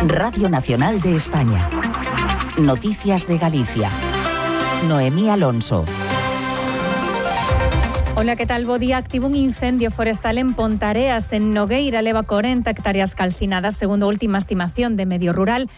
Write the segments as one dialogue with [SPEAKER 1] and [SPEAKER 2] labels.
[SPEAKER 1] Radio Nacional de España. Noticias de Galicia. Noemí Alonso.
[SPEAKER 2] Ola, que tal? Bo día. Activo un incendio forestal en Pontareas, en Nogueira. Leva 40 hectáreas calcinadas, segundo a última estimación de Medio Rural.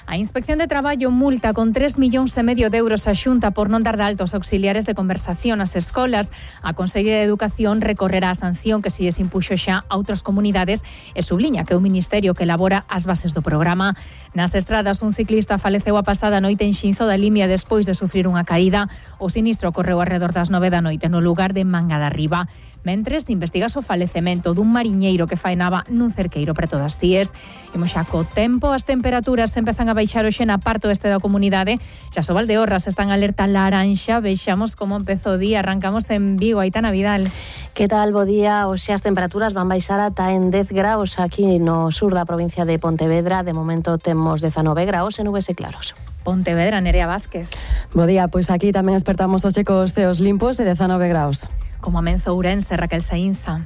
[SPEAKER 2] A Inspección de Traballo multa con 3,5 millóns de euros a Xunta por non dar de altos auxiliares de conversación ás escolas. A Consellería de Educación recorrerá a sanción que se lles impuxo xa a outras comunidades e subliña que é o Ministerio que elabora as bases do programa. Nas estradas, un ciclista faleceu a pasada noite en Xinzo da Limia despois de sufrir unha caída. O sinistro ocorreu arredor das 9 da noite no lugar de Manga da Riba. Mentres, investigas o falecemento dun mariñeiro que faenaba nun cerqueiro preto das Cíes. Imos xa co tempo. As temperaturas empezan a baixar hoxe na parte oeste da comunidade. Xa so Valdeorras están alerta laranxa. Vexamos como empezou o día. Arrancamos en Vigo. Aitana Vidal.
[SPEAKER 3] Que tal? Bo día. Hoxe as temperaturas van baixar ata en 10 graus aquí no sur da provincia de Pontevedra. De momento temos 19 graus e nubes e claros.
[SPEAKER 2] Pontevedra, Nerea Vázquez.
[SPEAKER 4] Bo día, pois aquí tamén despertamos hoxe cos ceos limpos e 19 graus.
[SPEAKER 2] Como amenzo Ourense, Raquel Saínza.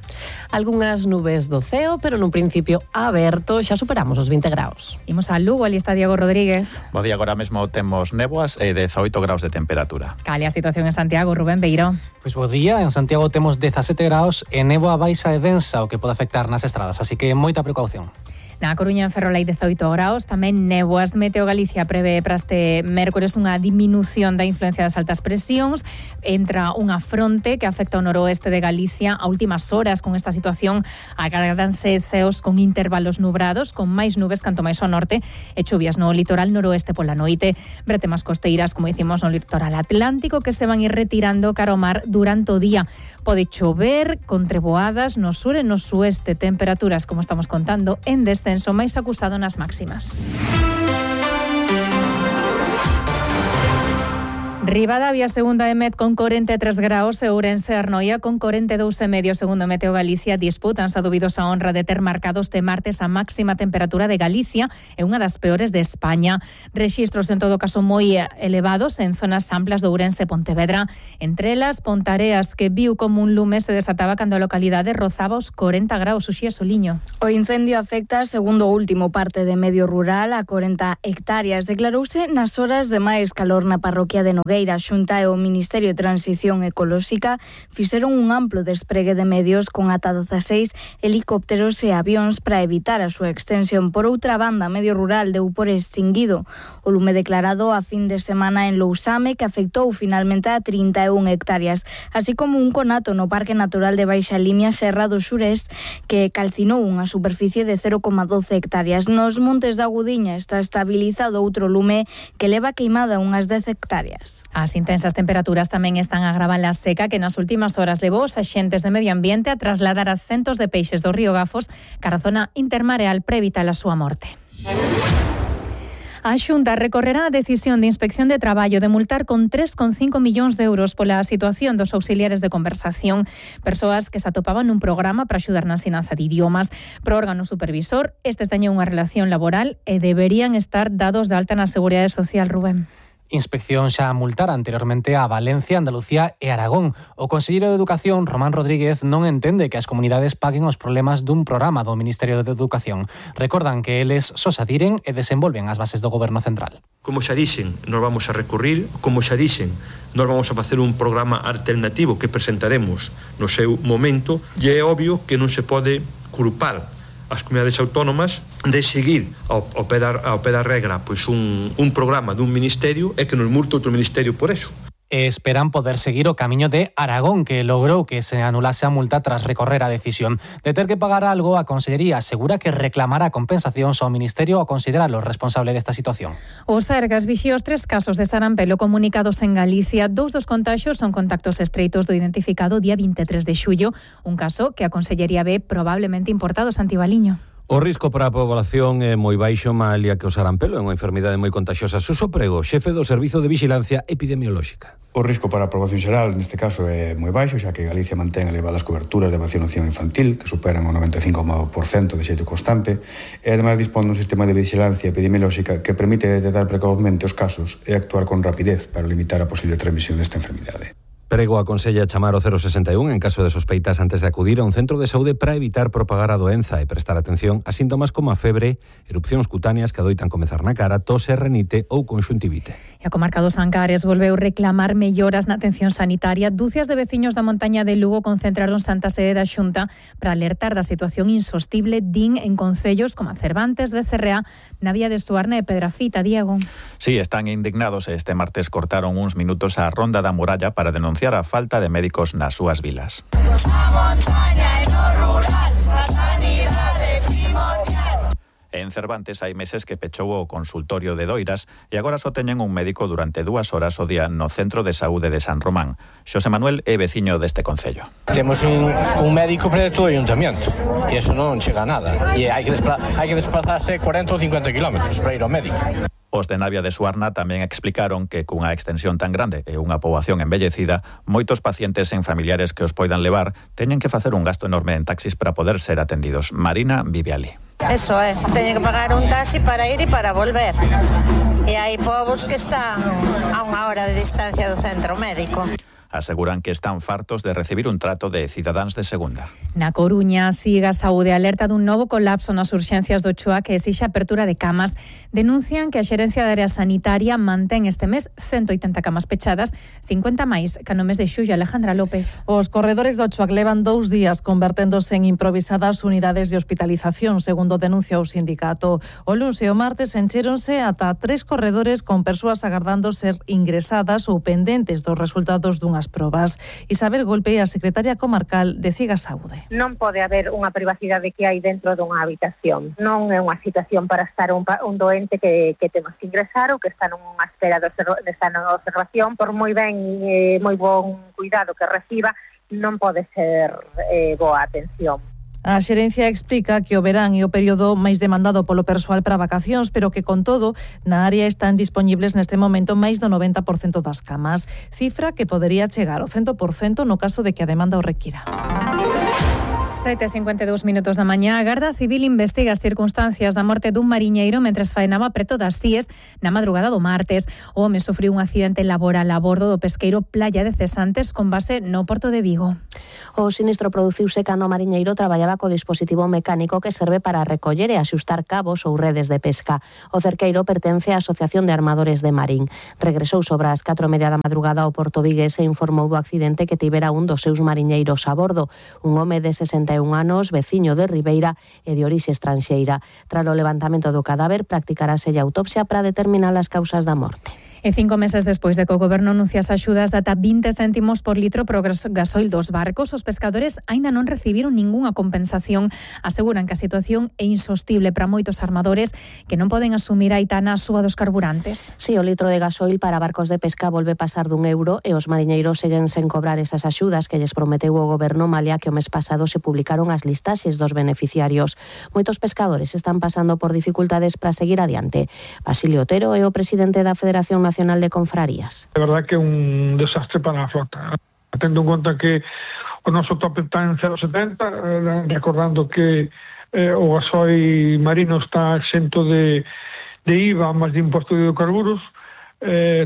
[SPEAKER 3] Algunhas nubes do ceo, pero nun principio aberto, xa superamos os 20 graus.
[SPEAKER 2] Imos a Lugo, ali está Diego Rodríguez.
[SPEAKER 5] Bo día, agora mesmo temos néboas e 18 graus de temperatura.
[SPEAKER 2] Cale a situación en Santiago, Rubén Beiró.
[SPEAKER 6] Pois bo día, en Santiago temos 17 graus e néboa baixa e densa, o que pode afectar nas estradas, así que moita precaución.
[SPEAKER 2] Na Coruña, en Ferrol, hai 18 graus, tamén néboas. Meteo Galicia prevé para este mércores unha diminución da influencia das altas presións. Entra unha fronte que afecta ao noroeste de Galicia. A últimas horas, con esta situación, agardanse ceos con intervalos nubrados, con máis nubes canto máis ao norte, e chuvias no litoral noroeste pola noite. Bretemas costeiras, como dicimos, no litoral atlántico, que se van ir retirando cara ao mar durante o día. Pode chover con treboadas no sur e no sueste. Temperaturas, como estamos contando, en descenso máis acusado nas máximas. Ribadavia, segunda de Met con 43 graus e Ourense Arnoia con 42,5, segundo Meteo Galicia. Disputanse a dubidosa honra de ter marcado este martes a máxima temperatura de Galicia e unha das peores de España. Rexistros en todo caso moi elevados en zonas amplas de Ourense e Pontevedra. Entre elas, Pontareas, que viu como un lume se desataba cando a localidade rozaba os 40 graus. Uxía Soliño.
[SPEAKER 7] O incendio afecta, segundo o último parte de Medio Rural, a 40 hectáreas. Declarouse nas horas de máis calor na parroquia de Nogueira. A Xunta e o Ministerio de Transición Ecolóxica fixeron un amplo despregue de medios con ata 16 helicópteros e avións para evitar a súa extensión. Por outra banda, Medio Rural deu por extinguido o lume declarado a fin de semana en Lousame, que afectou finalmente a 31 hectáreas, así como un conato no Parque Natural de Baixa Limia, Serra do Xurés, que calcinou unha superficie de 0,12 hectáreas. Nos Montes da Gudiña está estabilizado outro lume que leva queimada unhas 10 hectáreas.
[SPEAKER 2] As intensas temperaturas tamén están a agravar a seca que nas últimas horas levou os axentes de medio ambiente a trasladar a centos de peixes do río Gafos cara a zona intermareal para evitar a súa morte. A Xunta recorrerá a decisión de Inspección de Traballo de multar con 3,5 millóns de euros pola situación dos auxiliares de conversación, persoas que se atopaban nun programa para axudar na ensinanza de idiomas. Pro órgano supervisor, estes teñen unha relación laboral e deberían estar dados de alta na Seguridade Social, Rubén.
[SPEAKER 6] Inspección xa multara anteriormente a Valencia, Andalucía e Aragón. O conselleiro de Educación, Román Rodríguez, non entende que as comunidades paguen os problemas dun programa do Ministerio de Educación. Recordan que eles só se adiren e desenvolven as bases do Goberno Central.
[SPEAKER 8] Como xa dixen, nos vamos a recurrir, como xa dixen, nos vamos a facer un programa alternativo que presentaremos no seu momento, e é obvio que non se pode culpar as comunidades autónomas de seguir ao pé da regra pois un programa dun ministerio e que nos multe outro ministerio por eso.
[SPEAKER 6] Esperan poder seguir o camiño de Aragón, que logrou que se anulase a multa tras recorrer a decisión. De ter que pagar algo, a Consellería asegura que reclamará compensacións ao Ministerio ao considerarlo responsable desta situación.
[SPEAKER 2] O Sergas vixía os 3 casos de sarampelo comunicados en Galicia. 2 dos contaxios son contactos estreitos do identificado día 23 de xullo, un caso que a Consellería ve probablemente importado. Santi Baliño.
[SPEAKER 9] O risco para a población é moi baixo, malia que o sarampelo é unha enfermidade moi contagiosa. Suso Prego, xefe do Servizo de Vigilancia Epidemiolóxica.
[SPEAKER 10] O risco para a poboación xeral neste caso é moi baixo, xa que Galicia mantén elevadas coberturas de vacinación infantil, que superan o 95% de xeito constante, e ademais dispón dun sistema de vigilancia epidemiolóxica que permite detectar precozmente os casos e actuar con rapidez para limitar a posible transmisión desta enfermidade.
[SPEAKER 9] Prego aconsella chamar o 061 en caso de sospeitas antes de acudir a un centro de saúde para evitar propagar a doenza e prestar atención a síntomas como a febre, erupcións cutáneas que adoitan comezar na cara, tose, renite ou conxuntivite.
[SPEAKER 2] E a comarca dos Ancares volveu reclamar melloras na atención sanitaria. Dúcias de veciños da montaña de Lugo concentraron Santa Sede da Xunta para alertar da situación insostible din en concellos como a Cervantes, Becerrea, Navia de Suarna e Pedrafita. Diego.
[SPEAKER 5] Sí, están indignados. Este martes cortaron uns minutos a ronda da muralla para denunciar a falta de médicos nas súas vilas. En Cervantes hai meses que pechou o consultorio de Doiras e agora só teñen un médico durante 2 horas ao día no Centro de Saúde de San Román. Xosé Manuel é veciño deste concello.
[SPEAKER 11] Temos un médico para todo o ayuntamiento e eso non chega a nada. E hai que desplazarse 40 ou 50 kilómetros para ir ao médico.
[SPEAKER 5] Os de Navia de Suarna tamén explicaron que cunha extensión tan grande e unha poboación envellecida, moitos pacientes en familiares que os poidan levar teñen que facer un gasto enorme en taxis para poder ser atendidos. Marina vive ali.
[SPEAKER 12] Eso é, teñen que pagar un taxi para ir e para volver. E hai povos que están a 1 hora de distancia do centro médico.
[SPEAKER 5] Aseguran que están fartos de recibir un trato de cidadáns de segunda.
[SPEAKER 2] Na Coruña, Ciga Saúde alerta dun novo colapso nas urxencias do Choa que exixe apertura de camas. Denuncian que a xerencia da área sanitaria mantén este mes 180 camas pechadas, 50 máis que no mes de xullo. Alejandra López.
[SPEAKER 13] Os corredores do Choa levan 2 días converténdose en improvisadas unidades de hospitalización, segundo denuncia o sindicato. O luns e o martes encheronse ata 3 corredores con persoas agardando ser ingresadas ou pendentes dos resultados dunhas probas. Isabel Golpe, a secretaria comarcal de Ciga Saúde.
[SPEAKER 14] Non pode haber unha privacidade que hai dentro dunha habitación. Non é unha situación para estar un doente que temos que ingresar ou que está nunha espera de observación. Por moi ben, moi bon cuidado que reciba, non pode ser boa atención.
[SPEAKER 13] A xerencia explica que o verán é o período máis demandado polo persoal para vacacións, pero que, con todo, na área están dispoñibles neste momento máis do 90% das camas, cifra que podería chegar ao 100% no caso de que a demanda o requira.
[SPEAKER 2] 7:52 minutos da mañá. A Garda Civil investiga as circunstancias da morte dun mariñeiro mentres faenaba preto das Cíes na madrugada do martes. O home sufriu un accidente laboral a bordo do pesqueiro Playa de Cesantes con base no Porto de Vigo.
[SPEAKER 3] O sinistro produciuse cando o mariñeiro traballaba co dispositivo mecánico que serve para recoller e axustar cabos ou redes de pesca. O cerqueiro pertence á Asociación de Armadores de Marín. Regresou sobre as 4:30 da madrugada ao Porto Vigués e informou do accidente que tivera un dos seus mariñeiros a bordo, un home de 61 anos, veciño de Ribeira e de orixe estranxeira. Tras o levantamento do cadáver, practicarase a autopsia para determinar as causas da morte.
[SPEAKER 2] E 5 meses despois de que o Goberno anunciase axudas de ata 20 céntimos por litro pro gasoil dos barcos, os pescadores aínda non recibiron ningunha compensación. Aseguran que a situación é insostible para moitos armadores que non poden asumir a aitana a súa dos carburantes.
[SPEAKER 3] Si, o litro de gasoil para barcos de pesca volve pasar d'1 euro e os mariñeiros seguen sen cobrar esas axudas que lles prometeu o Goberno malia que o mes pasado se publicaron as listaxes dos beneficiarios. Moitos pescadores están pasando por dificultades para seguir adiante. Basilio Otero é o presidente da Federación Nacional de Confrarías.
[SPEAKER 15] De verdad que é un desastre para a flota. Tendo en conta que o noso tope está en 0,70, recordando que o gasoil marino está exento de IVA máis de imposto de hidrocarburos,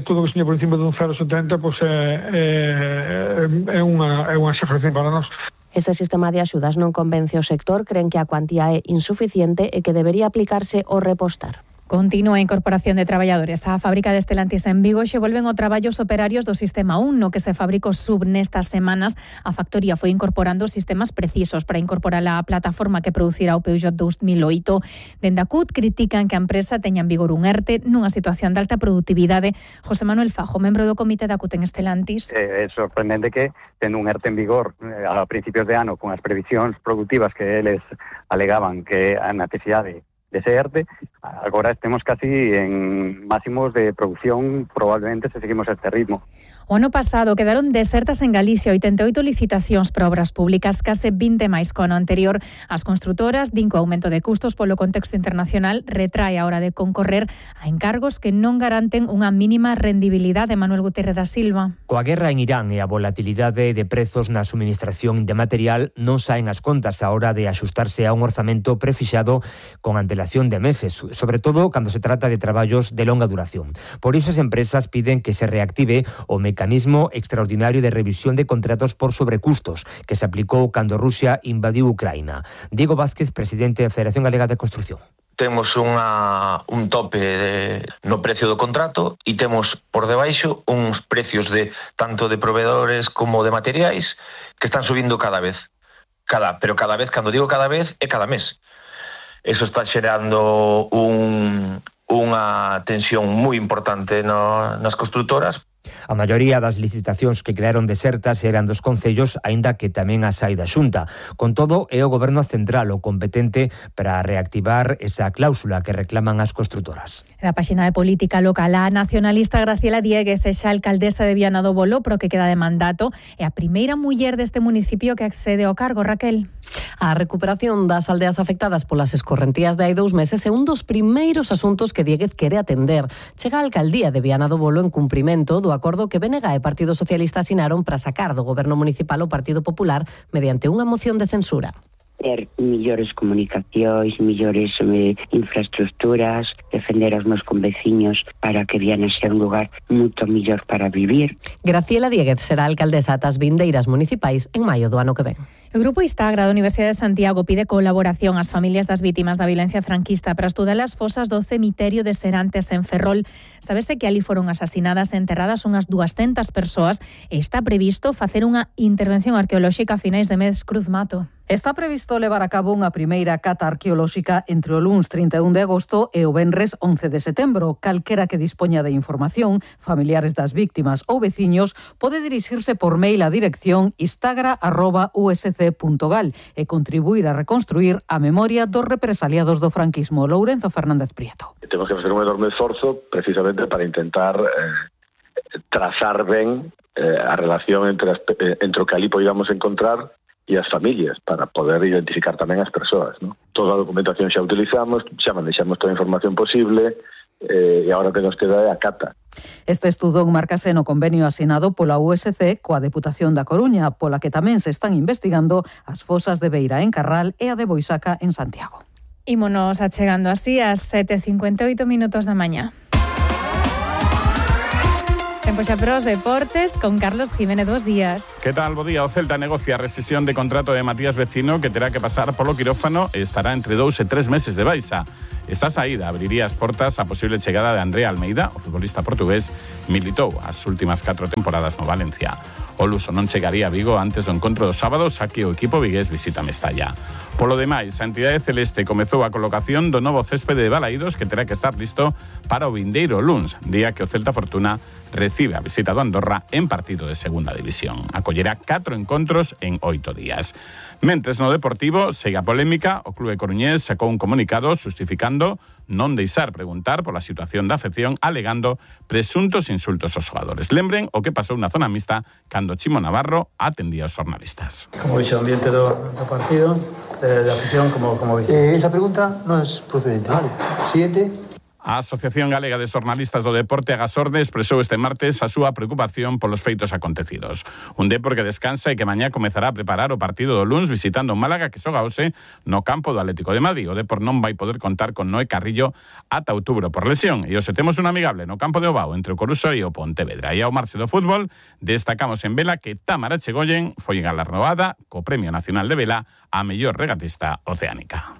[SPEAKER 15] todo o que seña por encima dun 0,70 pois é unha exageración para nós.
[SPEAKER 3] Este sistema de axudas non convence o sector, creen que a cuantía é insuficiente e que debería aplicarse o repostar.
[SPEAKER 2] Continúa a incorporación de traballadores á fábrica de Estelantis en Vigo. Xe volven o traballo os operarios do Sistema 1, no que se fabricou sub nestas semanas. A factoría foi incorporando sistemas precisos para incorporar a plataforma que producirá o Peugeot 2008. Dende a CUT critican que a empresa teña en vigor un ERTE nunha situación de alta produtividade. José Manuel Fajo, membro do comité da CUT en Estelantis.
[SPEAKER 16] É sorprendente que, tendo un ERTE en vigor a principios de ano con as previsións productivas que eles alegaban que a necesidade de ese ERTE, agora estemos casi en máximos de producción, probablemente se seguimos a este ritmo.
[SPEAKER 2] O ano pasado quedaron desertas en Galicia 88 licitacións para obras públicas, case 20 máis co ano anterior. As construtoras din que o aumento de custos polo contexto internacional retrae a hora de concorrer a encargos que non garanten unha mínima rendibilidade. Manuel Gutiérrez da Silva.
[SPEAKER 17] Coa guerra en Irán e a volatilidade de prezos na suministración de material non saen as contas a hora de axustarse a un orzamento prefixado con antelación de meses, sobre todo cando se trata de traballos de longa duración. Por iso as empresas piden que se reactive o mecanismo extraordinario de revisión de contratos por sobrecustos que se aplicou cando Rusia invadiu Ucraína. Diego Vázquez, presidente da Federación Galega de Construcción.
[SPEAKER 18] Temos un tope no precio do contrato e temos por debaixo uns precios tanto de proveedores como de materiais que están subindo cada vez. Pero cada vez, cando digo cada vez, é cada mes. Eso está xerando unha tensión moi importante nas construtoras.
[SPEAKER 17] A maioría das licitacións que quedaron desertas eran dos concellos, aínda que tamén as hai da Xunta. Con todo, é o Goberno central o competente para reactivar esa cláusula que reclaman as construtoras.
[SPEAKER 2] Da páxina de política local, a nacionalista Graciela Dieguez é xa alcaldesa de Viana do Bolo, pero que queda de mandato, é a primeira muller deste municipio que accede ao cargo. Raquel.
[SPEAKER 4] A recuperación das aldeas afectadas polas escorrentías de hai 2 meses é un dos primeiros asuntos que Dieguez quere atender. Chega a alcaldía de Viana do Bolo en cumprimento do acordo que BNG e Partido Socialista asinaron para sacar do Goberno Municipal o Partido Popular mediante unha moción de censura.
[SPEAKER 19] Ter millores comunicacións, millores infraestructuras, defender aos meus conveciños para que Viana sea un lugar moito mellor para vivir.
[SPEAKER 4] Graciela Dieguez será alcaldesa ata as vindeiras municipais en maio do ano que ven.
[SPEAKER 2] O Grupo Istagra da Universidade de Santiago pide colaboración ás familias das vítimas da violencia franquista para estudar as fosas do cemiterio de Serantes en Ferrol. Sabese que ali foron asasinadas e enterradas unhas 200 persoas e está previsto facer unha intervención arqueolóxica a finais de mes. Cruz Mato.
[SPEAKER 20] Está previsto levar a cabo unha primeira cata arqueolóxica entre o luns 31 de agosto e o venres 11 de setembro. Calquera que dispoña de información, familiares das víctimas ou veciños, pode dirixirse por mail á dirección istagra@usc.gal e contribuir a reconstruir a memoria dos represaliados do franquismo. Lourenzo Fernández Prieto.
[SPEAKER 21] Temos que facer un enorme esforzo precisamente para intentar trazar ben a relación entre o que ali podamos encontrar e as familias, para poder identificar tamén as persoas, ¿no? Toda a documentación xa utilizamos, xa manexamos toda a información posible, e agora que nos queda é a cata.
[SPEAKER 20] Este estudo enmárcase no convenio asinado pola USC coa Deputación da Coruña, pola que tamén se están investigando as fosas de Beira en Carral e a de Boisaca en Santiago.
[SPEAKER 2] Ímonos achegando así ás 7:58 da mañá. Tempo xa para os deportes con Carlos Jiménez. 2 días.
[SPEAKER 22] Que tal? Bo día. O Celta negocia a rescisión de contrato de Matías Vecino, que terá que pasar polo quirófano e estará entre 2 e 3 meses de baixa. Esta saída abriría as portas á posible chegada de André Almeida. O futbolista portugués militou as últimas 4 temporadas no Valencia. O luso non chegaría a Vigo antes do encontro do sábado, xa que o equipo vigués visita Mestalla. Polo demais, a entidade celeste comezou a colocación do novo céspede de Balaídos, que terá que estar listo para o vindeiro luns, día que o Celta Fortuna recibe a visita do Andorra en partido de segunda división. Acollerá 4 encontros en 8 días. Mentres no Deportivo, segue a polémica, o clube coruñés sacou un comunicado justificando non deixar preguntar pola situación da afección, alegando presuntos insultos aos xogadores. Lembren o que pasou na zona mixta cando Chimo Navarro atendía aos xornalistas.
[SPEAKER 23] Como vixe o ambiente do partido, de afección, como vixe?
[SPEAKER 24] Esa pregunta non é procedente. Vale. Siguiente.
[SPEAKER 22] A Asociación Galega de Xornalistas do Deporte, Agasorde, expresou este martes a súa preocupación polos feitos acontecidos. Un Depor que descansa e que mañá comezará a preparar o partido do luns visitando Málaga, que xoga hoxe no campo do Atlético de Madrid. O Depor non vai poder contar con Noé Carrillo ata outubro por lesión. E hoxe temos un amigable no campo de Obao entre o Coruxo e o Pontevedra. E ao marxe do fútbol, destacamos en vela que Tamara Chegoyen foi galardoada co Premio Nacional de Vela a mellor regatista oceánica.